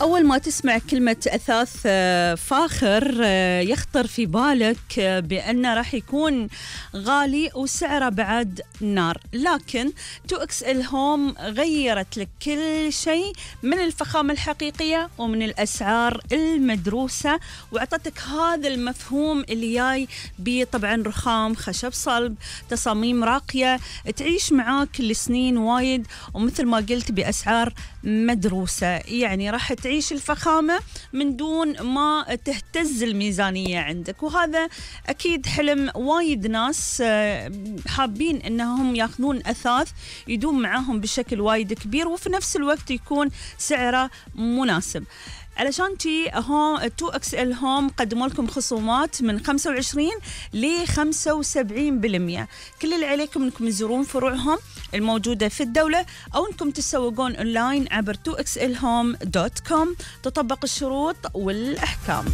أول ما تسمع كلمة أثاث فاخر يخطر في بالك بأنه راح يكون غالي وسعره بعد نار، لكن 2XL Home غيرت لك كل شيء من الفخامة الحقيقية ومن الأسعار المدروسة، وأعطتك هذا المفهوم اللي جاي بطبعا رخام، خشب صلب، تصاميم راقية تعيش معاك لسنين وايد، ومثل ما قلت بأسعار مدروسة. يعني راح تعيش الفخامة من دون ما تهتز الميزانية عندك، وهذا أكيد حلم وايد ناس حابين أنهم يأخذون أثاث يدوم معاهم بشكل وايد كبير وفي نفس الوقت يكون سعره مناسب. علشان تي 2XL Home قدموا لكم خصومات من 25 ل 75%. كل اللي عليكم انكم تزورون فروعهم الموجودة في الدولة أو انكم تسوقون أونلاين عبر 2XLHome.com. تطبق الشروط والأحكام.